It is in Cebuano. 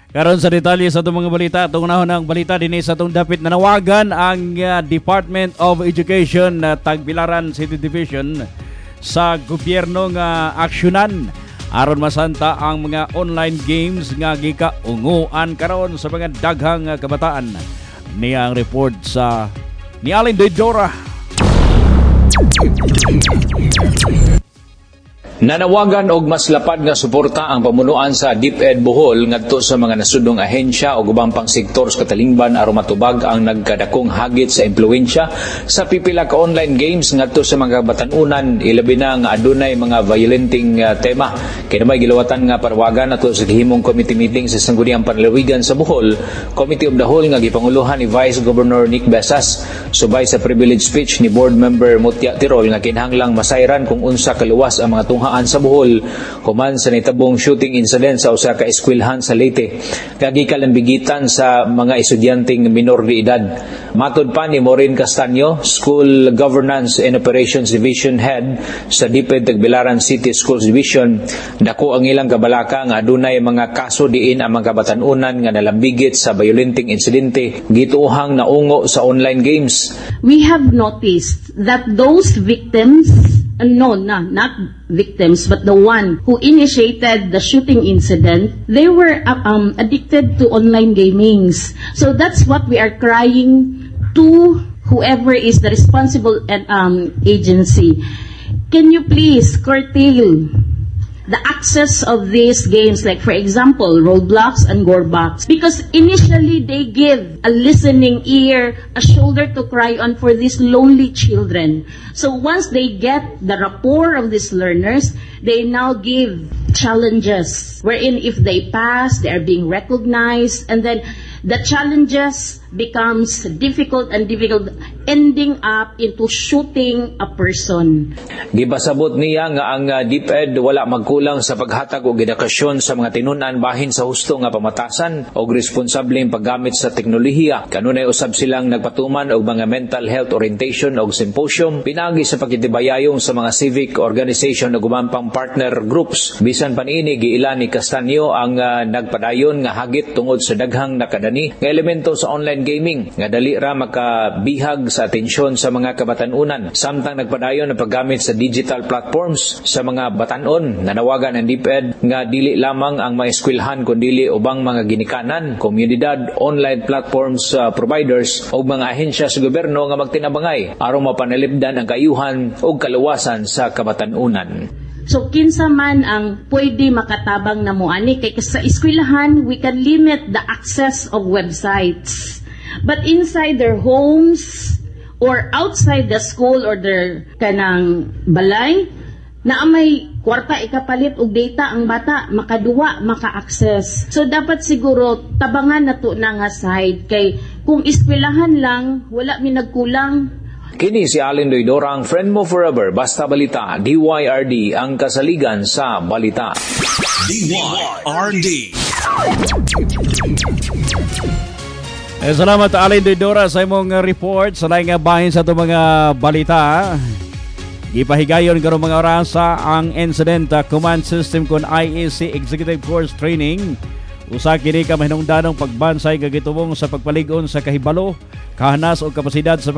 Karon sa detalye sa atong mga balita, atong unahon ang balita dinhi sa atong dapit, nanawagan ang Department of Education, Tagbilaran City Division, sa gobyerno nga aksyonan aron masanta ang mga online games nga gikaunguan karon sa mga daghang kabataan. Niya ang report sa ni Alin Dora. Nanawagan og mas lapad nga suporta ang pamunuan sa DepEd Bohol ngadto sa mga nasudnong ahensya ug ubang pang sektor sa katalingban aron matubag ang nagkadakong hagit sa impluwensya sa pipila ka online games ngadto sa mga batan-unan, ilabi na nga adunay mga violenting tema. Kini may gilawatan nga parawagan ato sa gihimong committee meeting sa Sangguniang Panlalawigan sa Bohol, Committee of the Whole, nga gipanguluhan ni Vice Governor Nick Besas, subay sa privilege speech ni Board Member Mutya Tirol nga kinahanglang masayran kung unsa kaluwas ang mga tunghaan sa Bohol human sa nitabong shooting incident sa usa ka eskwelahan sa Leyte nga gikalambigitan sa mga estudyanteng minor de edad. Matod pa ni Maureen Castaño, School Governance and Operations Division Head sa DepEd Tagbilaran City Schools Division, dako ang ilang kabalaka nga adunay mga kaso diin ang mga kabatan-unan nga nalambigit sa violenting insidente gituohang naungo sa online games. We have noticed that those victims, no, not victims, but the one who initiated the shooting incident, they were addicted to online gamings. So that's what we are crying to whoever is the responsible agency. Can you please curtail the access of these games, like for example, Roblox and Gorbox? Because initially they give a listening ear, a shoulder to cry on for these lonely children. So once they get the rapport of these learners, they now give challenges wherein if they pass, they are being recognized, and then the challenges becomes difficult and difficult, ending up into shooting a person. Gipasabot niya nga ang DepEd wala magkulang sa paghatag og edukasyon sa mga tinun-an bahin sa husto nga pamatasan og responsableng paggamit sa teknolohiya. Kanunay usab silang nagpatuman og mga mental health orientation og symposium pinaagi sa pagkitibayayong sa mga civic organization ug uban pang partner groups. Bisan pa niini, giila ni Castaño ang nagpadayon nga hagit tungod sa daghang nakadani nga elemento sa online gaming nga dali ra makabihag sa atensyon sa mga kabatan-unan samtang nagpadayon ang paggamit sa digital platforms sa mga batan-on. Nanawagan ang DepEd nga dili lamang ang mga eskwelahan kundili ubang mga ginikanan, komunidad, online platforms providers ug mga ahensya sa gobyerno nga magtinabangay aron mapanalipdan ang kaayuhan ug kaluwasan sa kabatan-unan. So kinsa man ang pwede makatabang na mo ani, kay sa eskwelahan we can limit the access of websites. But inside their homes or outside the school or their kanang balay, naa may kwarta ikapalit og data ang bata, makaduwa, maka-access. So dapat siguro tabangan nato na nga side, kay kung eskwelahan lang, wala mi nagkulang. Kini si Allen Doydora, ang friend mo forever. Basta Balita, DYRD, ang kasaligan sa balita. DYRD. Salamat, Allen Doydora, sa imong report sa laing nga bahin sa atong mga balita. Gipahigayon karong mga orasa ang Incident Command System kon IEC Executive Course Training. Usa kini ka mahinungdanong pagbansay nga gitubong sa pagpalig-on sa kahibalo, kahanas o kapasidad sa